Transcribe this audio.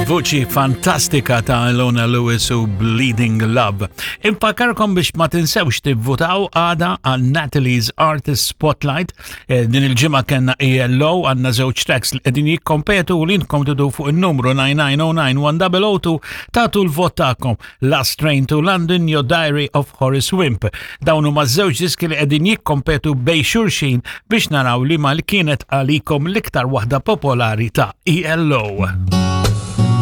Il-vuċi fantastika ta' Ilona Lewis u Bleeding Love. Infakarkom biex ma tinsewx tivvutaw għada għal Natalie's Artist Spotlight. Eh, din il-ġimgħa kellna ELO għandna żewġ tracks li qegħdin jikkompetu u li intkom tidu fuq in-numru 99091002 tagħtu l-vot tagħkom. Last Train to London, Your Diary of Horace Wimp. Dawn huma żewġ diski li qegħdin jikkompetu bej xulxin biex naraw li ma li kienet għalikom l-iktar waħda popolari ta' ELO.